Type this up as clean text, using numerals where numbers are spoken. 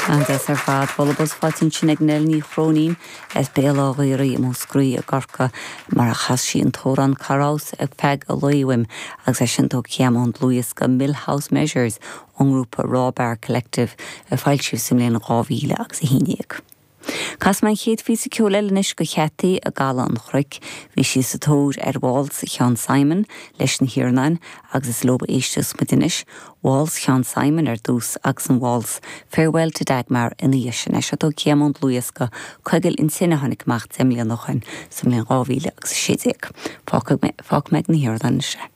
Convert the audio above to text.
An-deas ar fad. Bualadh bos faighte ansin ag Nell Ní Chróinín as Béal Átha Ghaorthaidh i Múscraí i gCorcaigh mar a chas sí an t-amhrán Cá Rabhas ar Feadh an Lae uaim agus é sin tógtha ón dlúthdhiosca Millhouse Measures ón ngrúpa Raw Bar Collective a foilsíodh sa mbliain 2011. Casfaidh mé an chéad phíosa ceoil eile anois do Cheaití i gCaladh an Chnoic. Bhí sí sa tóir ar Waltz Sheáin Simon leis na hIarnáin agus is leo a éisteas muid anois. Waltz Sheáin Simon ar dtús agus an Waltz Farewell to Dagmar ina dhiaidh sin. É seo tógtha ón dlúthdhiosca Coigil an Tine a tháinig amach 10 mbliana ó shoin, sa mbliain 2016. Fágfaidh mé ag na hIarnáin anois é.